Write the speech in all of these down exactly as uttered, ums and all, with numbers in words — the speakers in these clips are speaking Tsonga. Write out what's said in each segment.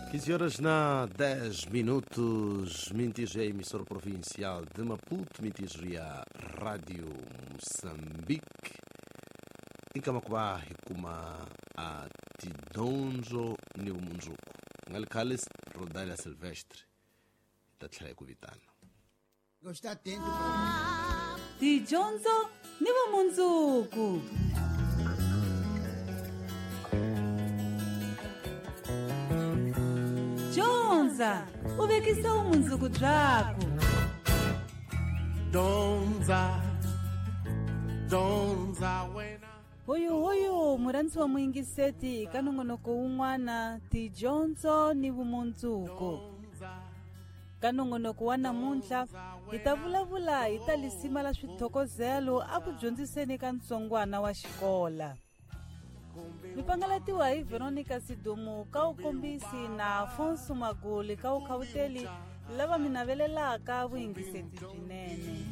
quinze horas na dez minutos, Mintijo é a emissora provincial de Maputo, Mintijo e a Rádio Moçambique. Em Camacuá, Ricuma, a Tidonjo, Niumunjuku. Ngalikalis, Rodália Silvestre, Tatleco Vitano. Gosta atento. Tidonjo, Niumunjuku. Dyondza u vekisa vumundzuku byakho. Dyondza, dyondza wena. Hoyo hoyo murhandzi wa muyingiseti ka nongonoko wun'wana tidyondzo ni vumundzuku. Ka nongonoko wa namuntlha hi ta vulavula hi ta lisima la swithokozelo a ku dyondziseni ka ntsongwana wa xikola. Mi pangalatiwa hi Veronica Sidumu ka ukombisi na Afonso Maguli ka ukhawuteli lava mi navelelaka vuyingiseti byinene.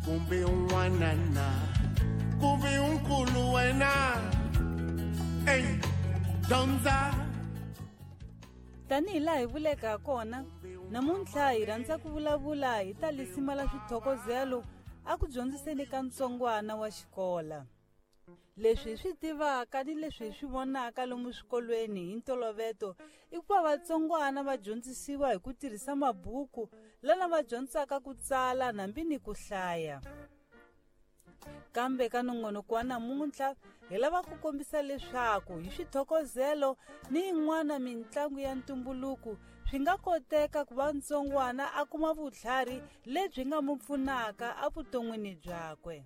Kumbe un'wana na kumbe unkulu wena. Ey, dyondza. Tanihi laha hi vuleke ha kona, namuntlha hi rhandza ku vulavula hi ta lisima la swithokozelo a ku dyondziseni ka ntsongwana wa xikola. Leswi hi swi tivaka ni leswi hi swi vonaka lomu swikolweni hi ntoloveto i ku va vatsongwana va dyondzisiwa hi ku tirhisa mabuku lana va dyondzaka ku tsala hambi ni ku hlaya. Kambe ka nongonoko wa namuntlha hi lava ku kombisa leswaku hi swithokozelo ni yin'wana mitlangu ya ntumbuluko swi nga koteka ku va ntsongwana a kuma vutlhari lebyi nga mu pfunaka evuton'wini byakwe.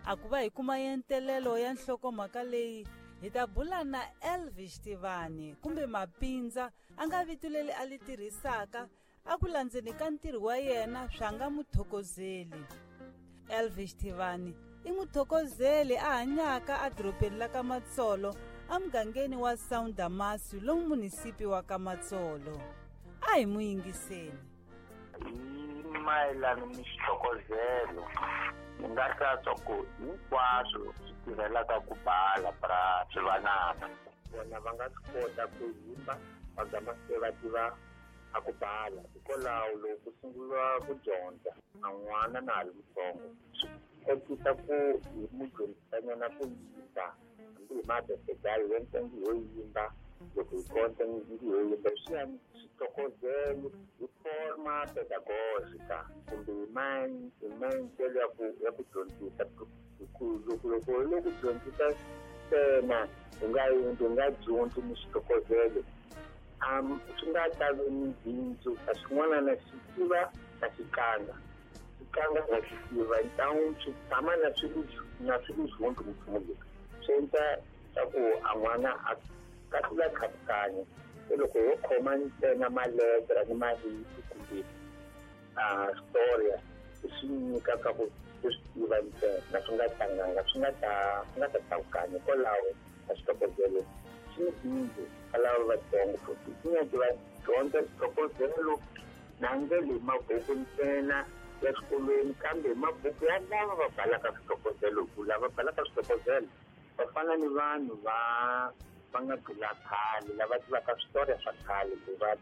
A ku va hi kuma yentelelo ya nhlokomhaka leyi hi ta bula na Elvis Tivani kumbe Mapindza a nga vito leri a li tirhisaka a ku landzeni ka ntirho wa yena swa nga muthokozeli. Elvis Tivani i muthokozeli a hanyaka edorobeni la ka Matsolo emugangeni wa Saundamasi lomu munisipi wa ka Matsolo. A hi mu yingiseni. Hi mayelana ni xithokozelo ni nga hlantswa ku hinkwaswo swi tirhelaka ku bala bra swivanana vona va nga swi kota ku yimba va gama se va tiva a ku bala. Hikwalaho loko ku sunguriwa ku dyondza a n'wana na ha ri mutsongo swi kotisa ku hi mu dyondzisanyana ku yimba hambi hi mabesedayo yo ntsengo yo yimba loko hi konta ngi yo yimba swi ya swithokozelo hi forma pedagógica kumbe hi maendlelo ya ku ya ku dyondzisa. Loko loko loko ku dyondzisa ntsena u nga yimbi u nga dyondzi ni swithokozelo um swi nga ta vi ni bindzu a xin'wana na xi tiva na xi tlanga xi tlanga na xi tiva ntawu swi tshama na swi na swi dyondzi nchumu leswi swi endla swa ku a n'wana a kahlula khatukanya. Se loko ho khoma ntsena maletere ni marito kumbe a storia swi nyikaka ku swi tiva ntsena swi nga tlanganga swi nga ta swi nga ta tlakukanya. Hikwalaho a xithokozelo xi ni bindzu ka lava vatsongo futhi swi nyaki va dyondza xithokozelo na ndlela hi mabuku ntsena ya xikolweni kambe hi mabuku ya lava va balaka swithokozelo hi ku lava balaka swithokozelo va fana ni vanhu va va nga gula khale lava tivaka switoriya swa khale ku va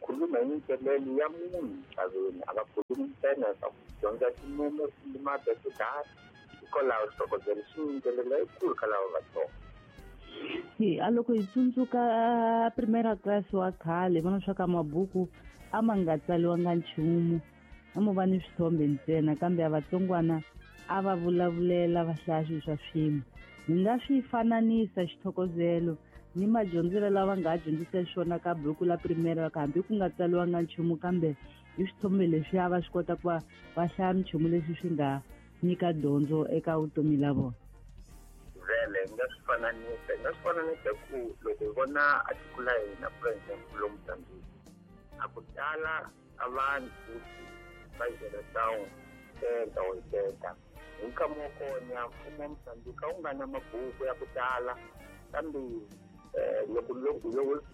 khuluma hi minkelelo ya munhu misaveni a va khulumi ntsena swa ku dyondza tinumere kumbe mabesedari. Hikwalaho xithokozelo xi ni ndlela leyikulu ka lava vatsongo. Hi a loko hi tsundzuka primera class wa khale vona swa ka mabuku a ma nga tsaliwanga nchumu a mo va ni swithombe ntsena kambe a vatsongwana a va vulavulela va hlaya swilo swa swin'we. Hi nga swi fananisa xithokozelo ni madyondzelo lava nga dyondzisa xona ka buku la primera hambi ku nga tsaliwanga nchumu kambe hi swithombe leswi a va swi kota ku va va hlaya minchumu leswi swi nga nyika dyondzo eka vutomi la vona. Vele hi nga swi fananisa hi nga swi fananisa ku loko hi vona a tiko la hina for example lomu Mozambique a ku tala a vanhu futhi va geração setenta oitenta hi nkama wa kona mfumo wa Mozambique a wu nga na mabuku ya ku tala kambe loko loko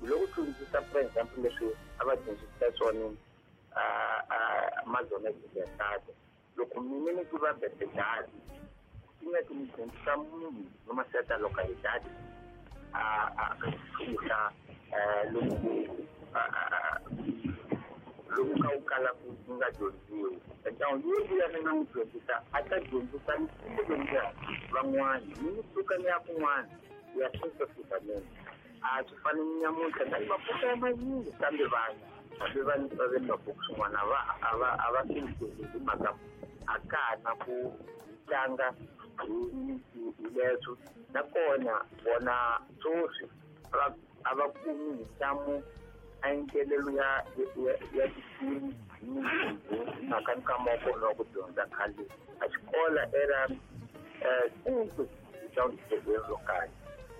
loko dyondzisa for example leswi a va dyondzisa swona Amazon ya loko mina ni tiva besedadi swi nga ti mi dyondzisa munhu noma certa localidade a a ka xihla lomu ni nga dyondziwi ntangu yi vuya ni nga n'wi dyondzisa a ta dyondzisa ni dyondzisa van'wana ni ni suka ni ya kun'wana ya sweswo swifanele a swi fani ni nyamuntlha na mabuku ya manyingi kambe vanhu hambi va va ve mabuku swin'wana a va a va a va swi hi mhaka a ka ha na ku tlanga hi hi leswo nakona vona sweswi va a va kumi nhlamu a yingelelo ya ya ya tinsimu hi mhaka nkama wa kona wa ku dyondza khale a xikola era um ro karhi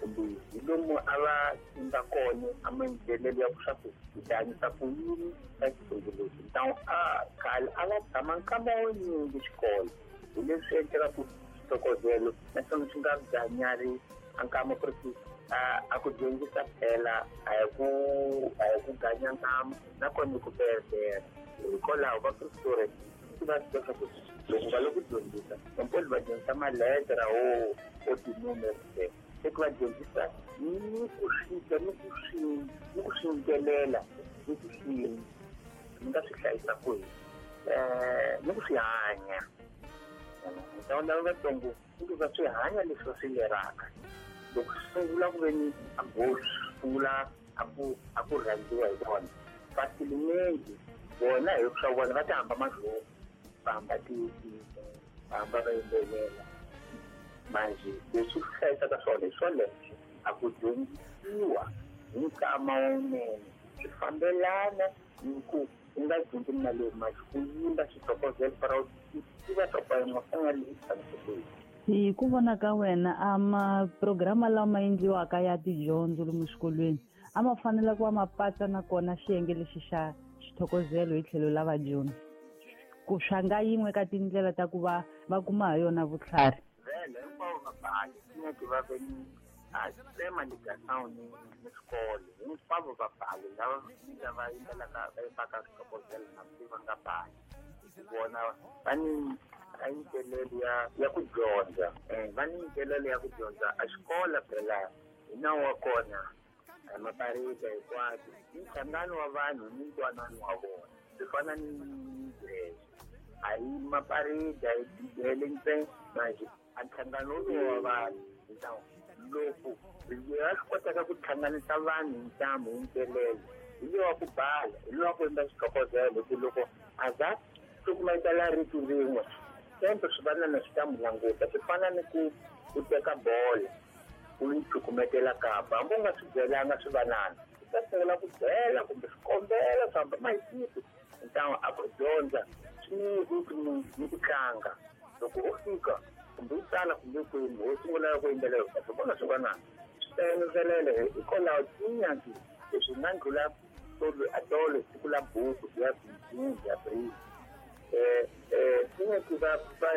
kumbe hi lomu a va imba kona a mayingelelo ya ku swa ku hi ta hanyisa ku yini ka xitumbuluxi ntangu a khale a va tshama nkama wo nyingi xikolo hi leswi endleka ku xithokozelo naswona swi nga ganyari a nkama ku ri ku a ku dyondzisa phela a hi ku a hi ku ganya nkama nakona ku pelepela hikwalaho va pretoria va swi tiva ku loko va le ku dyondzisa vampoli va dyondzisa maletere wo o tinumere se ku va dyondzisa ni ku swi ni ku swi ni ku swi yimbelela ni ku swi ni nga swi hlayisa kwihi um ni ku swi hanya ntlangu lava vatsongo ni ku va swi hanya leswi va swi leraka loko swi sungula ku ve ni a gosi sungula a ku a ku rhandziwa hi vona vasilimenti vona hi swa vona va ta hamba mahlweni va hamba ti va hamba va yimbelela manje leswi swi hlayisaka swona hi swoleswo a ku dyondzisiwa hi nkama wunene swi fambelana ni ku u nga dyondzi mali mali ku yimba xithokozelo para u tiva swa ku yin'we fana leyi tshamisekile. Hi ku vona ka wena a maprograma lama endliwaka ya tidyondzo lomu swikolweni a ma fanele ku va ma patsa nakona xiyenge lexi xa xithokozelo hi tlhelo la vadyondzi ku swa nga yin'we ka tindlela ta ku va va kuma ha yona vutlhari vhele hinkwavo vabali nyeke va ve ni a tsema ligação ni ni xikolo hinkwavo vabali lava lava yimbelaka va yimbaka swithokozelo hambi va nga bali vona va ni a yingelelo ya ya ku dyondza va ni yingelelo ya ku dyondza a xikolo phela hi nawu wa kona maparita hinkwato i nhlangano wa vanhu ni ntwanano wa vona swi fana ni dress a hi maparita hi bibele ntsena manje a nhlangano lowu wa vanhu ntamu loko ya swi kotaka ku hlanganisa vanhu hi ntamu hi ntelelo hi lowa ku bala hi lowa ku endla xithokozelo hi ku loko a za cukumetela rito rin'we sempe swivanana swi ta mu languta swi fana ni ku u teka bolo u yi cukumetela kapa hambi u nga swi byelanga swivanana swi ta sungula ku byela kumbe swi kombela swi hamba mahitiki ntangu a ku dyondza swi ni ni ku tlanga loko u fika kumbe u tsala kumbe kwini wo sungula ku yimbelela swi vona swivanana swi ta engezelele hikwalaho tinyaki leswi nga ndlula tolo siku la buku ya bindzu ya bril eh eh tinyaki va va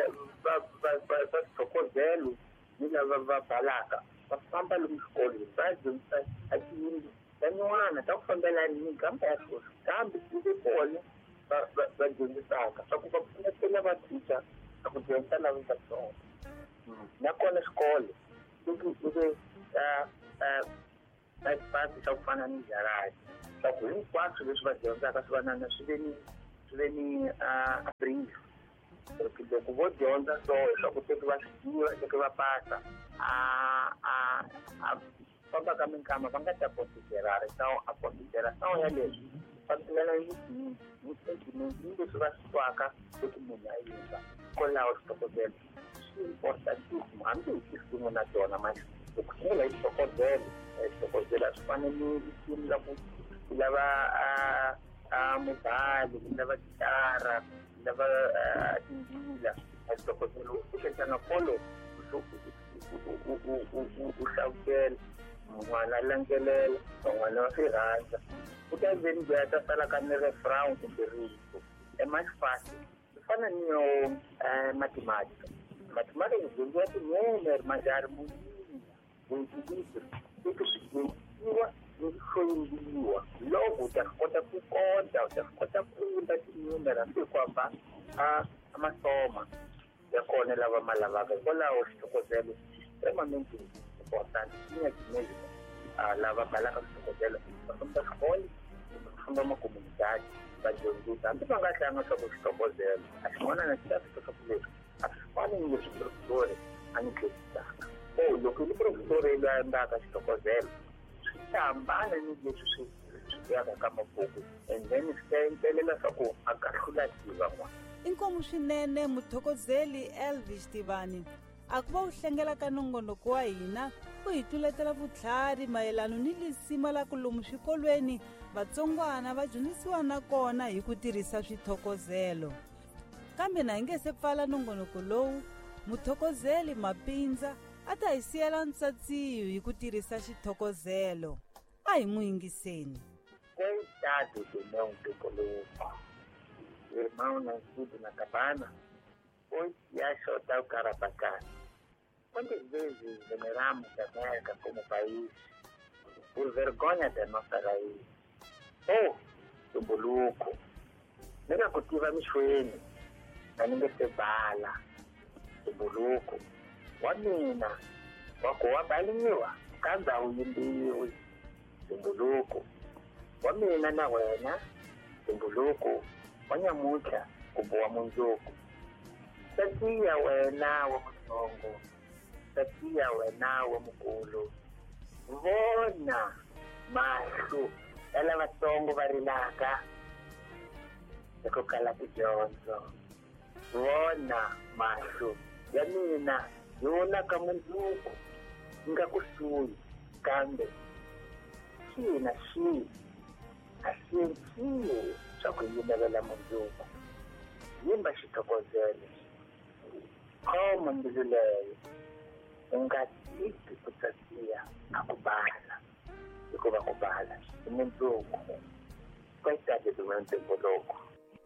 va va va va xithokozelo ni lava va balaka va famba lomu xikolweni va dyondzisa a tiyindlu ta nyuwana ta ku fambelana ni minkamba ya sweswi kambe ti ve kona va va va dyondzisaka swa ku va pfunetela va thicha a ku dyondzisa lava vatsongo nakona xikolo loko u ve a xipasi xa ku fana ni jaradi swa ku hinkwaswo leswi va dyondzaka swi vanana swi ve ni swi ve ni a brief loko vo dyondza so swa ku teki va swi tiva teki va pasa a a a famba ka minkama va nga ta konsiderara a consideração ya leswi fambelana ni ni sentiment ni leswi va swi twaka loko munhu a yimba kwalaho xithokozelo swi importantíssimo hambi hi tinsimu na tona manje loko sungula hi xithokozelo xithokozelo a swi fani ni risimu la ku lava a a mubali lava gitara lava timbila a xithokozelo u xetana kolo u hlavutela n'wana a landzelela van'wana va swi rhandza ku ta veni loyi a ta sala ka ni refrain kumbe rito emaxifasi swi fana ni yo mathematika mathematika dyondziwa tinene majari munini leti swi dyondzisiwa ni ku hloyimbiwa loko u ta swi kota ku konta u ta swi kota ku yimba tinumere hambi hi ku hamba a masoma ya kona lava ma lavaka hikwalaho xithokozelo extremamente important tinyaki mesmo lava balaka swithokozelo va famba xikolo kumbe ku famba makomunidade va dyondzisa hambi va nga tlanga swa ku xithokozelo a xin'wana na xi ta swi swa ku leswi a swi fani ni leswi profesori a ni dyondzisaka. O loko i profesori loyi a endlaka xithokozelo swi ta hambana ni leswi swi swi yaka ka mabuku and then swi ta endlelela swa ku a kahlula tiva n'wana. Inkomu swinene muthokozeli Elvis Tivani a ku va u hlengela ka nongonoko wa hina u hi tluletela vutlhari mayelano ni lisima la ku lomu swikolweni vatsongwana va dyondzisiwa na kona hi ku tirhisa swithokozelo. Kambe na hi nge se pfala nongonoko lowu muthokozeli Mapindza a ta hi siyela ntsatsiyo hi ku tirhisa xithokozelo. A hi n'wi yingiseni. Coitado do meu ntumbuluko, irmão nascido na cabana, hoje se acha o tal cara bacana. Quantas vezes veneramos a América como país, por vergonha da nossa raiz? Oh, ntumbuluko, nega kutiva mixweni, na ninge se bala. Ntumbuluko, wa mina, wa ku wa baliwa, kambe a wu yimbiwi. Ntumbuluko, wa mina na wena, ntumbuluko, wa nyamuntlha kumbe wa mundzuku. Tatiya wena wa mutsongo, tatiya wena wa mukulu, vona mahlo ya lavatsongo va rilaka hi ku kala tidyondzo. Vona mahlo ya mina yi vonaka mundzuku yi nga kusuhi, kambe xihi na xihi a xi endliwi swa ku yimelela mundzuku. Yimba xithokozelo, khoma mbilu leyo, u nga tiki ku tsatiya a ku bala, hikuva ku bala i mundzuku. Coitado do meu ntumbuluko.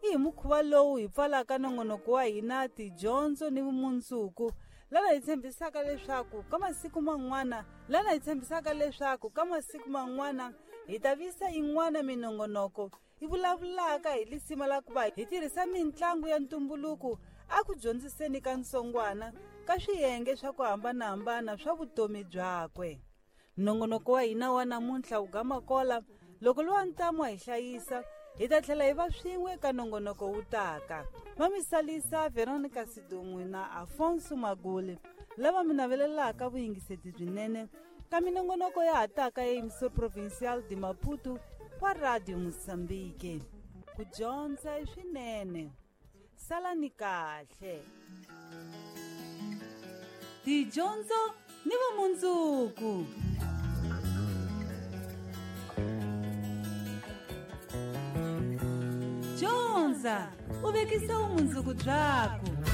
I hi mukhuva lowu hi pfalaka nongonoko wa hina tidyondzo ni vumundzuku, lana hi tshembisaka leswaku ka masiku man'wana lana hi tshembisaka leswaku ka masiku man'wana hi ta visa yin'wana minongonoko yi vulavulaka hi lisima la ku va hi tirhisa mitlangu ya ntumbuluko a ku dyondziseni ka ntsongwana ka swiyenge swa ku hambanahambana swa vutomi byakwe. Nongonoko wa hina wa namuntlha wu gama kola loko lowa ntamu a hi hlayisa hi ta tlhela hi va swin'we ka nongonoko wu taka. Va mi salisa Veronica Sidun'wi na Afonso Maguli lava mi navelelaka vuyingiseti byinene ka minongonoko ya ha taka ya Emissora Provincial de Maputo wa Radio Mozambique. Ku dyondza i swinene, salani kahle. Tidyondzo ni vumundzuku. Dyondza u vekisa vumundzuku byaku.